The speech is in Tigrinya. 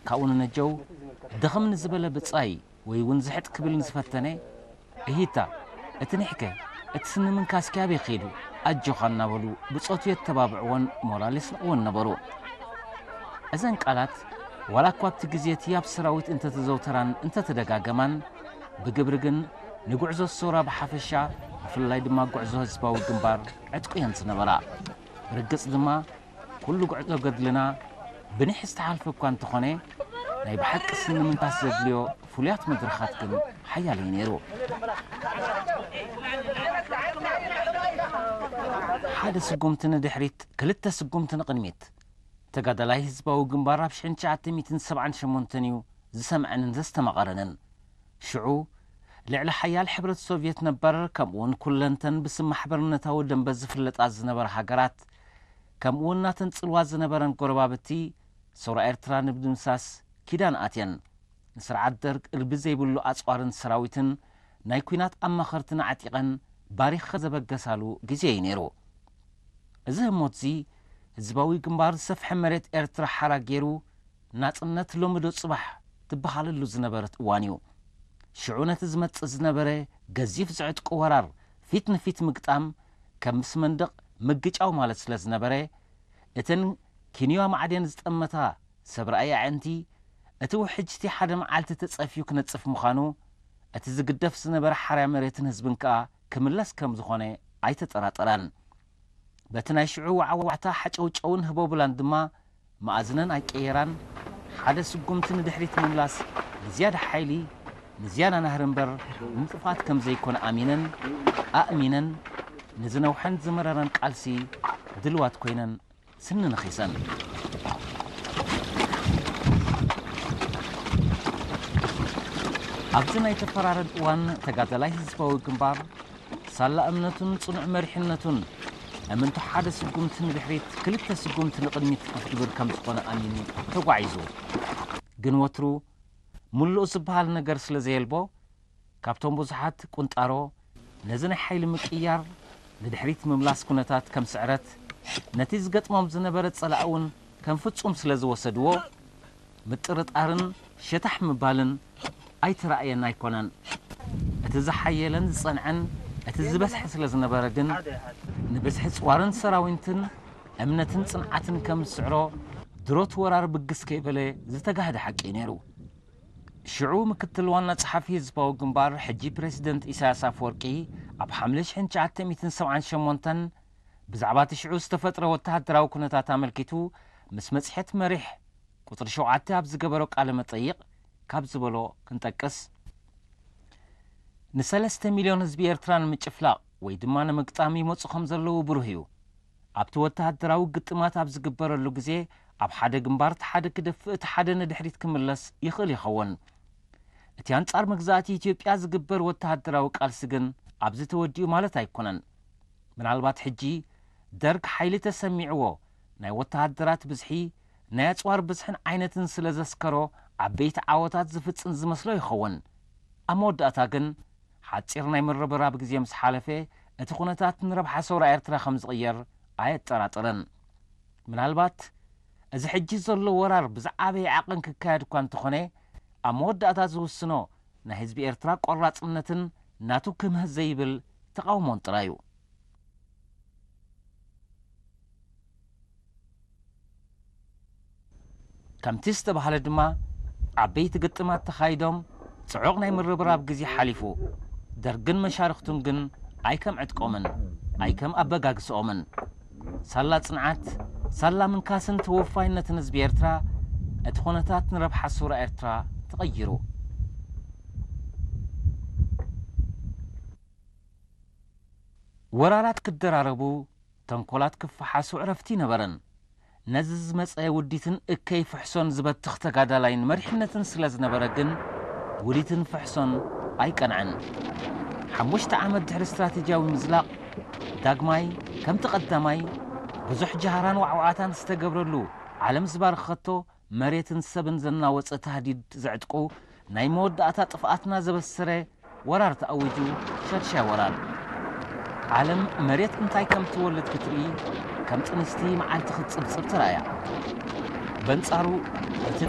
ካብኡ ንነጀው ድኽም ንዝበለ ብጻይ ወይ እውን ዝሕጥ ክብል ንዝፈተነ፣ እሂታ፣ እቲ ኒሕከ፣ እቲ ስኒ ምንካስኪ ኣበይ ኸይዱ? ኣጆኻ እናበሉ ብጾቱ የተባብዕዎን ሞራል የስንቕዎን ነበሩ። እዘን ቃላት ዋላ እኳ ኣብቲ ግዜ እቲ ኣብ ሰራዊት እንተተዘውተራን እንተተደጋገማን፣ ብግብሪ ግን ንጉዕዞ ሰውራ ብሓፈሻ፣ ብፍላይ ድማ ጉዕዞ ህዝባዊ ግንባር ዕጥቁ እየን ዝነበራ። ብርግጽ ድማ ኩሉ ጉዕዞ ገድልና ብኒሕ ዝተሓልፈ እኳ እንተኾነ፣ ናይ ብሓቂ ስኒ ምንካስ ዘድልዮ ፍሉያት መድረኻት ግን ሓያል እዩ ነይሩ። ሓደ ስጉምቲ ንድሕሪት፣ ክልተ ስጉምቲ ንቕድሚት። ተጋዳላይ ህዝባዊ ግንባር ኣብ ሽሕን ትሽዓተ ሚእትን ሰብዓን ሸሞንተን እዩ ዝሰምዐንን ዘስተማቐረንን። ሽዑ ልዕሊ ሓያል ሕብረት ሶቭየት ነበር፣ ከምኡውን ኩለንተን ብስም ማሕበርነታዊ ደንበ ዝፍለጣ ዝነበራ ሃገራት፣ ከምኡውን ናተን ጽልዋ ዝነበረን ጎረባብቲ፣ ሰውራ ኤርትራ ንምድምሳስ ኪዳን ኣትየን። ንስርዓት ደርግ እልቢ ዘይብሉ ኣጽዋርን ሰራዊትን ናይ ኲናት ኣማኸርትን ኣዕጢቐን ባሪኽ ዘበገሳሉ ግዜ እዩ ነይሩ። እዚ ህሞትዚ ህዝባዊ ግንባር ዝሰፍሐ መሬት ኤርትራ ሓራ ገይሩ ናጽነት ሎሚ ዶ ጽባሕ ትበሃለሉ ዝነበረት እዋን እዩ። ሽዑ ነቲ ዝመጽእ ዝነበረ ገዚፍ ዝዕጥቁ ወራር ፊት ንፊት ምግጣም ከም ምስ መንደቕ ምግጫው ማለት ስለ ዝነበረ፣ እተን ኪንዮ ማዕድን ዝጠመታ ሰብ ረኣይ ኣዕንቲ፣ እቲ ውሕጅቲ ሓደ መዓልቲ ተጸፍዩ ክነጽፍ ምዃኑ፣ እቲ ዝግደፍ ዝነበረ ሓርያ መሬትን ህዝብን ከኣ ክምለስ ከም ዝኾነ ኣይተጠራጠራን። በቲ ናይ ሽዑ ዋዕዋዕታ ሓጨውጨውን ህቦብላን ድማ መኣዝነን ኣይቀየራን። ሓደ ስጉምቲ ንድሕሪት ምምላስ ንዝያዳ ሓይሊ፣ ንዝያዳ ናህሪ እምበር ንጥፍኣት ከም ዘይኮነ ኣሚነን፣ ኣእሚነን፣ ንዝነውሐን ዝመረረን ቃልሲ ድልዋት ኮይነን ስኒ ነኺሰን። ኣብዚ ናይ ተፈራረድ እዋን ተጋዳላይ ህዝባዊ ግንባር ሳላ እምነቱን ጽኑዕ መሪሕነቱን እምንቶ ሓደ ስጉምቲ ንድሕሪት ክልተ ስጉምቲ ንቕድሚት ክትግብር ከም ዝኾነ ኣሚኑ ተጓዒዙ። ግን ወትሩ ምሉእ ዝበሃል ነገር ስለ ዘየልቦ፣ ካብቶም ብዙሓት ቁንጣሮ ነዚ ናይ ሓይሊ ምቅያር ንድሕሪት ምምላስ ኩነታት ከም ስዕረት፣ ነቲ ዝገጥሞም ዝነበረ ጸላኢ እውን ከም ፍጹም ስለ ዝወሰድዎ፣ ምጥርጣርን ሸታሕ ምባልን ኣይተራእየን ኣይኮነን። እቲ ዝሓየለን ዝጸንዐን እቲ ዝበዝሐ ስለ ዝነበረ ግን፣ ንብዝሒ ጽዋርን ሰራዊትን እምነትን ጽንዓትን ከም ዝስዕሮ፣ ድሮት ወራር ብግስ ከይበለ ዝተጋህደ ሓቂ እዩ ነይሩ። ሽዑ ምክትል ዋና ጸሓፊ ህዝባዊ ግንባር፣ ሕጂ ፕረሲደንት ኢሳያስ ኣፈወርቂ፣ ኣብ ሓምለ ሽሕን ትሽዓተ ሚእትን ሰብዓን ሸሞንተን ብዛዕባ እቲ ሽዑ ዝተፈጥረ ወተሃደራዊ ኩነታት ኣመልኪቱ ምስ መጽሔት መሪሕ ቁጽሪ ሸውዓተ ኣብ ዝገበሮ ቃለ መጠይቕ ካብ ዝበሎ ክንጠቅስ፣ ንሰለስተ ሚልዮን ህዝቢ ኤርትራ ንምጭፍላቕ ወይ ድማ ንምግጣም ይመጹ ከም ዘለዉ ብሩህ እዩ። ኣብቲ ወተሃደራዊ ግጥማት ኣብ ዝግበረሉ ግዜ፣ ኣብ ሓደ ግንባር እቲ ሓደ ክደፍእ፣ እቲ ሓደ ንድሕሪት ክምለስ ይኽእል ይኸውን። እቲ ኣንጻር መግዛእቲ ኢትዮጵያ ዝግበር ወተሃደራዊ ቃልሲ ግን ኣብዚ ተወዲኡ ማለት ኣይኮነን። ምናልባት ሕጂ ደርግ ሓይሊ ተሰሚዕዎ፣ ናይ ወተሃደራት ብዝሒ፣ ናይ ኣጽዋር ብዝሕን ዓይነትን ስለ ዘስከሮ፣ ዓበይቲ ዓወታት ዝፍጽም ዝመስሎ ይኸውን። ኣብ መወዳእታ ግን፣ ሓጺር ናይ ምርብራብ ግዜ ምስ ሓለፈ፣ እቲ ኩነታት ንረብሓ ሰውራ ኤርትራ ከም ዝቕየር ኣየጠራጥርን። ምናልባት፣ እዚ ሕጂ ዘሎ ወራር ብዝዓበየ ዓቐን ክካየድ እኳ እንተኾነ፣ ኣብ መወዳእታ ዝውስኖ ናይ ህዝቢ ኤርትራ ቆራጽነትን ናቱ ክምህ ዘይብል ተቓውሞን ጥራይ እዩ። ከምቲ ዝተባህለ ድማ፣ ዓበይቲ ግጥማት ተኻይዶም፣ ጽዑቕ ናይ ምርብራብ ግዜ ሓሊፉ። ደርግን መሻርኽቱን ግን ኣይከም ዕጥቆምን ኣይከም ኣበጋግስኦምን፣ ሳላ ጽንዓት፣ ሳላ ምንካስን ተወፋይነትን ህዝቢ ኤርትራ፣ እቲ ኩነታት ንረብሓ ሱራ ኤርትራ ተቐይሩ። ወራራት ክደራረቡ፣ ተንኮላት ክፈሓሱ ዕረፍቲ ነበረን። ነዚ ዝመጸ ውዲትን እከይ ፍሕሶን ዝበትኽ ተጋዳላይን መሪሕነትን ስለ ዝነበረ ግን፣ ውዲትን ፍሕሶን ኣይቀንዐን። ሓሙሽተ ዓመት ድሕሪ ስትራቴጂያዊ ምዝላቕ፣ ዳግማይ ከምቲ ቀዳማይ ብዙሕ ጃህራን ዋዕዋዕታን ዝተገብረሉ፣ ዓለም ዝባረኸቶ፣ መሬትን ሰብን ዘናወጸ ታህዲድ ዘዕጥቁ፣ ናይ መወዳእታ ጥፍኣትና ዘበሰረ ወራር ተኣዊጁ፣ ሻድሻይ ወራር። ዓለም መሬት እንታይ ከም ትወልድ ክትርኢ፣ ከም ጥንስቲ መዓልቲ ክትጽብጽብ ተራእያ። በንጻሩ፣ እቲ